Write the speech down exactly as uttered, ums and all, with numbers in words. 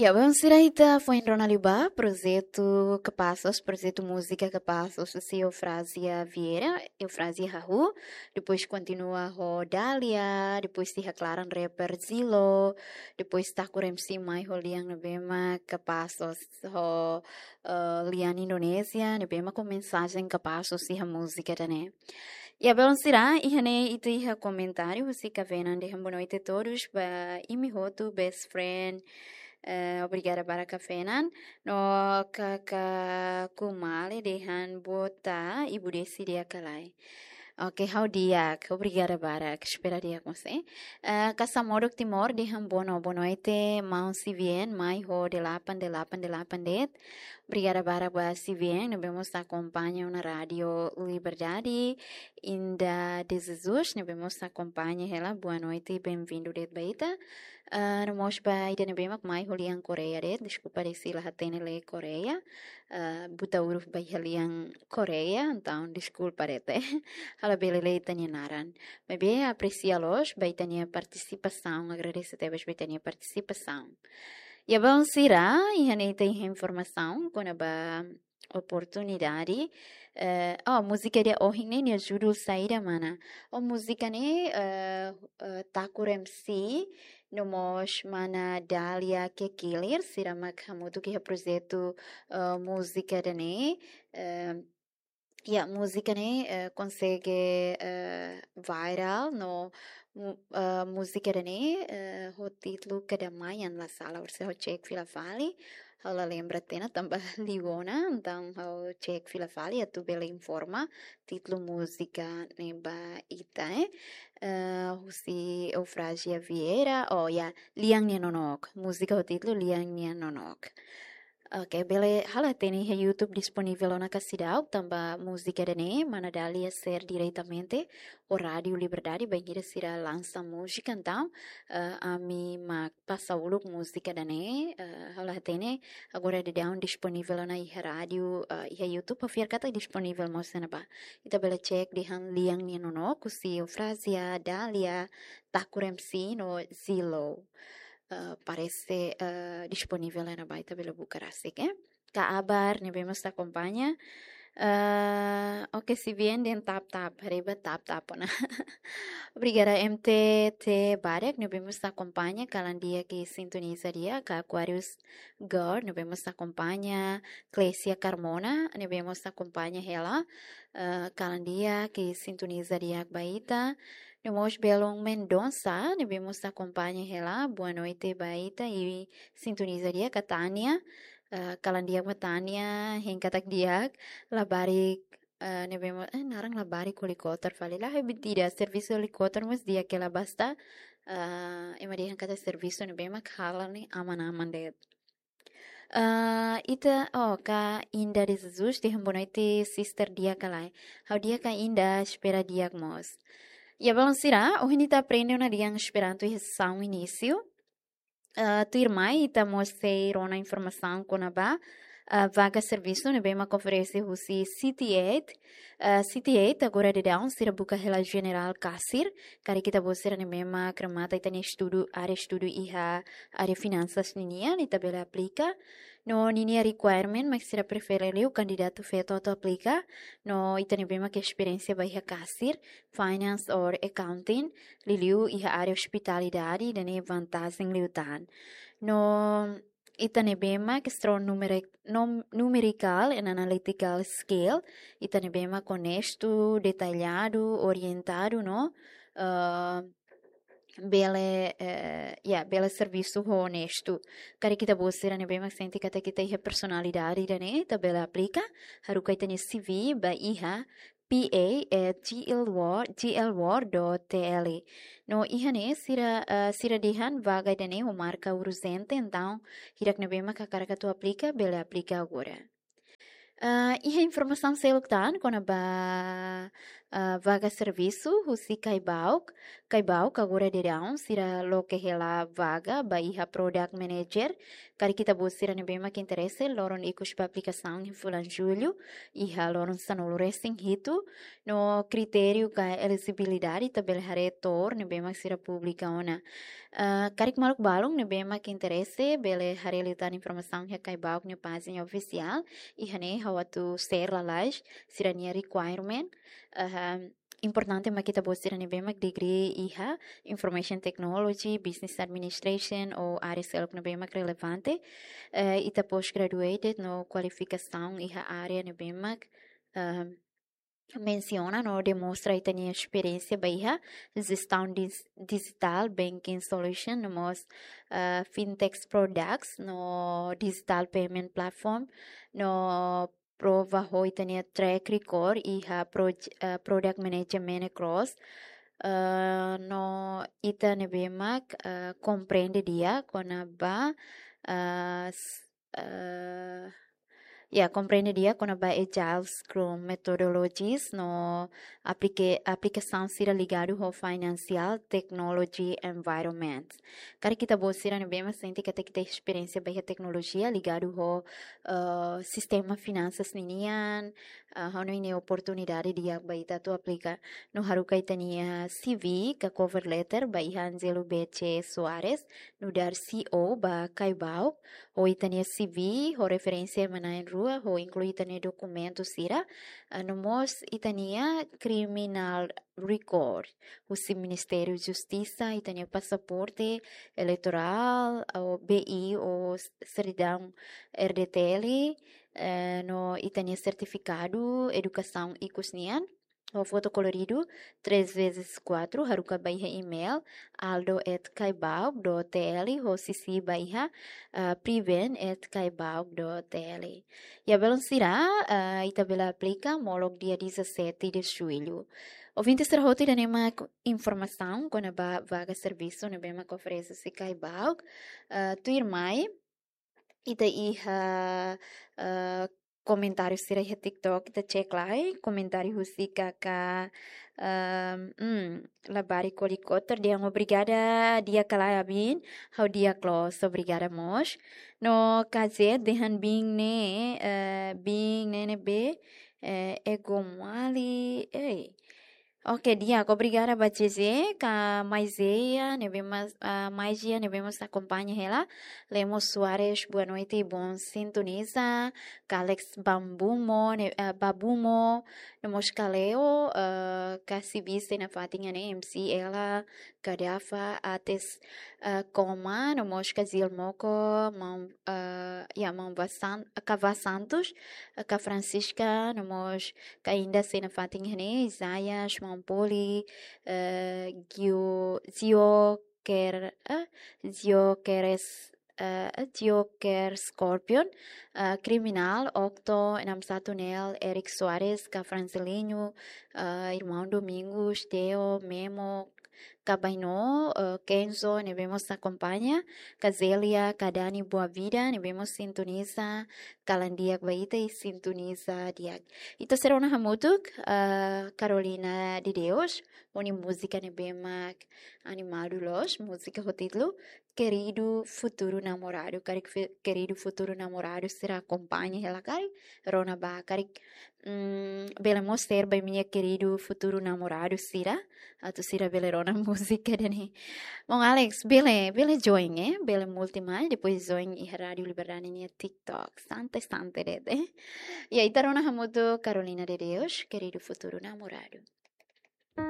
Ya, belun sira, ita foin rona liu ba projetu Kapassos, projetu múzika Kapassos, husi Eufrazia Vieira, Eufrazia hahú, depois kontinua ho Dália, depois iha klaran rapper Zilo, depois Takur M C mai ho lian ne'ebé mak Kapassos, ho, eh, lian Indonézia, ne'ebé mak ho mensajen Kapassos iha múzika ida-ne'e. Ya, belun sira, iha ne'e ita iha komentáriu husi Kavenan dehan boa noite todos, ba imi hotu, best friend. Eh, obrigada barak Kavenan. No Kaka Kumale dehan boa tarde, Ibu Desi di'ak ka lae? Oke, ha'u di'ak, obrigada barak, espera di'ak mós, eh. Eh, Kasa Modok Timor dehan boa no-, boa noite, maun C V N, mai ho delapan delapan delapan de'it. Obrigada barak ba C V N, ne'ebé mós akompaña ona Rádio Liberdade. Inda de Jesus, ne'ebé mós akompaña hela, boa noite, bem-vindo de'it ba ita. Ah, no mós ba ida ne'ebé mak mai ho lian Koreia de'it, deskulpa de'it se la hatene lee Koreia. Ah, buta huruf ba iha lian Koreia, entaun deskulpa de'it, eh. Ha'u labele lee ita-nia naran. Maibé apresia loos ba ita-nia partisipasaun, agradese tebes ba ita-nia partisipasaun. Ya, belun sira, iha ne'e ita iha informasaun kona-ba oportunidade. Eh, oh, múzika ida ohin ne'e nia judul saida, mana? Oh, múzika ne'e, eh, eh, Takur M C, no mós mana Dália Kekilir, sira mak hamutuk iha projetu, eh, múzika ida-ne'e. Eh, ya, múzika ne'e, eh, konsege, eh, viral, no mu-, eh, múzika ida-ne'e, eh, ho títulu Kedamaian, la sala, orsida ha'u cek fila fali, ha'u la lembra tiha ona tanba liu ona, entaun ha'u cek fila fali, atu bele informa títulu múzika ne'e ba ita, eh. Eh, husi Eufrazia Vieira, oh ya, Lian Nia Nonook, múzika ho títulu Lian Nia Nonook. Oke, bele, ha'u la hatene iha YouTube disponivel ona ka seidauk, tanba múzika ida-ne'e mana Dália share diretamente ho Rádio Liberdade, bainhira sira lansa múzika, entaun, eh, ami mak pasa uluk múzika ida-ne'e, eh, ha'u la hatene agora daudaun disponivel ona iha rádiu, eh, iha YouTube, ha'u fiar katak disponivel mós iha ne'ebá. Ita bele cek dehan Lian Nia Nonook, husi Eufrazia, Dália, Takur M C no Zilo. Eh, parese, eh, disponivel iha ne'ebá, ita bele buka rasik, eh. Kak Abar ne'ebé mós akompaña. Eh, oke, C V N dehan tap tap, haree ba tap tap ona. Obrigada M T T barak ne'ebé mós akompaña, kalan di'ak ke sintoniza di'ak, Aquarius Girl ne'ebé mós akompaña, Clesia Carmona ne'ebé mós akompaña hela, eh, kalan di'ak ke sintoniza di'ak ba ita. No mós belun Mendonça ne'ebé mós akompaña hela, boa noite ba ita, i sintoniza di'ak. Kak Tania, eh, kalan di'ak ba Tania, hein katak di'ak, labarik, eh, ne'ebé mós, eh, naran labarik helikópteru fali, la, eh, mentira, servisu helikópteru mós di'ak hela, basta, eh, ema dehan katak servisu ne'ebé mak hala'o ne'e aman-aman de'it. Eh, ita, oh, Kak Inda de Jesus dehan boa noite, sister, di'ak ka lae? Ha'u di'ak Kak Inda, espera di'ak mós. Ya, belun sira, ohin ita aprende ona lian Esperanto iha sesaun inísiu. Eh, tuirmai ita mós sei rona informasaun kona-ba, eh, vaga servisu ne'ebé mak oferese husi City eight. Eh, City eight agora daudaun sira buka hela jenerál kasir, karik ita-boot sira ne'ebé mak remata ita-nia estudu, área estudu iha área finansas ninian, ita bele aplika. No ninia requirement mak sira prefere liu kandidatu feto atu aplika. No ita ne'ebé mak esperiénsia ba iha kasir, finance or accounting, liuliu iha área ospitalidade, ida-ne'e vantajen liután. No ita ne'ebé mak strong numeric-, nom-, numerical and analytical skill, ita ne'ebé mak onestu, detalladu, orientadu, no, eh, bele, eh, ya, bele servisu ho onestu. Karik ita-boot sira ne'ebé mak sente katak ita iha personalidade ida-ne'e, ita bele aplika, haruka ita-nia C V ba iha P A at G L W O R, G L W O R dot T L. No iha ne'e sira, eh, sira dehan vaga ida-ne'e ho marka urjente, entaun hirak ne'ebé mak hakarak atu aplika, bele aplika agora. Eh, iha informasaun seluk tan kona-ba, eh, vaga servisu husi Caibauk. Caibauk agora daudaun sira loke hela vaga ba iha product manager. Karik ita-boot sira ne'ebé mak interese, loron ikus ba aplikasaun iha fulan Jullu, iha loron sanulu-resin-hitu. No kritériu ka elejibilidade ita bele haree to'o ne'ebé mak sira publika ona. Ah, karik maluk balun ne'ebé mak interese, bele haree liután informasaun iha Caibaoc nia pájina ofisiál. Iha ne'e ha'u atu share lalais sira-nia requirement. Ah, importante mak ita-boot sira ne'ebé mak degree iha Information Technology, Business Administration ou área seluk ne'ebé mak relevante. Eh, ita postgraduated no kualifikasaun iha área ne'ebé mak, ah, mensiona no demonstra ita-nia esperiénsia ba iha jestaun dis-, dijitál, banking solution, no mós, ah, fintech products, no digital payment platform, no prova ho ita-nia track record iha proj-, ah, product management across, ah, no ita ne'ebé mak, ah, komprende di'ak kona-ba, ah, s-, ah, ya, komprende di'ak kona-ba Agile Scrum methodologies no aplike-, aplikasaun sira ligadu ho financial technology environment. Karik ita-boot sira ne'ebé mak sente katak ita esperiénsia ba iha teknolojia ligadu ho, eh, sistema finansas ninian, eh, ha'u hanoin ne'e oportunidade di'ak ba ita atu aplika. No haruka ita-nia C V ka cover letter ba iha Angelo B C Soares, nu'udar C E O ba Caibaoc, ho ita-nia C V, ho referénsia ema na'in-rua, ho inklui ita-nia dokumentu sira, ah, no mós ita-nia criminal record husi Ministériu Justisa, ita-nia pasaporte eleitorál, ou B I, ou s-, sertidaun R D T L, eh, no ita-nia sertifikadu edukasaun ikus nian, ho foto koloridu, três vezes quatro, haruka ba iha email, aldo at caibaoc dot T L, ho C C ba iha, ah, priven at caibaoc dot T L. Ya, belun sira, ah, ita bele aplika molok dia dezassete de julho. Ouvinte sira hotu, ida-ne'e mak informasaun kona-ba vaga servisu ne'ebé mak oferese husi Caibaoc. Ah, tuirmai, ita iha, ah, komentáriu sira iha TikTok, ita cek lai, komentáriu husi kaka, ehm, hmm, Labari Kolikotor, dehan obrigada, di'ak ka lae Abin, ha'u di'ak loos, obrigada mós. No K Z dehan biin ne'e, eh, biin ne'e ne'ebé, eh, ego mali, ei. Oke, di'ak, obrigada ba J J, ka Maizia, ne'ebé mós, ah, Maizia, ne'ebé mós akompaña hela. Lemos Soares, boa noite, bom sintoniza. Ka Alex Bambumo, ne-, ah, Babumo, no mós ka Leo, ah, ka Sibi sei nafatin iha ne'e, M C Ela, ka Dafa, Ates, ah, Koma, no mós ka Zil Moko, Mam-, ah, ya, Maun Vasan-, Kava Santos, ka Francisca, no mós ka Inda sei nafatin iha ne'e, Isaias, Maun Poli, eh, Gio-, Zio Ker-, eh, Zio Keres, eh, Zio Ker Scorpion, eh, Kriminál, Octo, enam satu Nel, Eric Soares, ka Francelinho, eh, Irmaun Domingos, Teo, Memo, ka Baino, eh, Kenzo, ne'ebé mós akompaña, ka Zelia, ka Dani Boa Vida, ne'ebé mós sintoniza, kalan di'ak ba ita i sintoniza di'ak. Ita sei rona hamutuk, eh, Carolina de Deus, ho nia múzika ne'ebé mak animadu loos, múzika ho títulu Querido Futuro Namorado. Karik fe-, querido futuro namorado sira akompaña hela karik, rona ba karik, mm, bele mós ser ba imi-nia querido futuro namorado sira, atu sira bele rona múzika ida-ne'e. Bom, Alex, bele, bele join, eh? Bele multi mai, depois join iha Rádio Liberdade nia TikTok. Sante, sante de'it, eh? Ya, ita rona hamutuk Carolina de Deus, Querido Futuro Namorado.